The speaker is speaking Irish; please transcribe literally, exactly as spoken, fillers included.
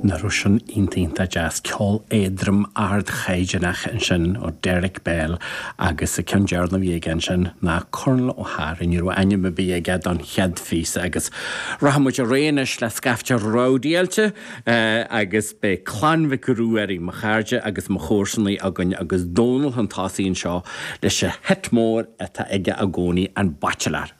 Nach raibh sin iontach deas ceol éadrom ardchaighdeánach ansin ó Derek Bell agus an ceann deireanach a bhí aige ansin ná Corn O'Hara ní raibh ainm ar bith aige don chéad phíosa agus rachaimid ar aghaidh anois le scaifte rowdyáilte agus beidh Clann Mhic Ruairí mo chairde agus mo chomharsanaí againn agus Dónal chun tosaigh anseo leis an hit mór atá aige i gcónaí an Baitsiléir.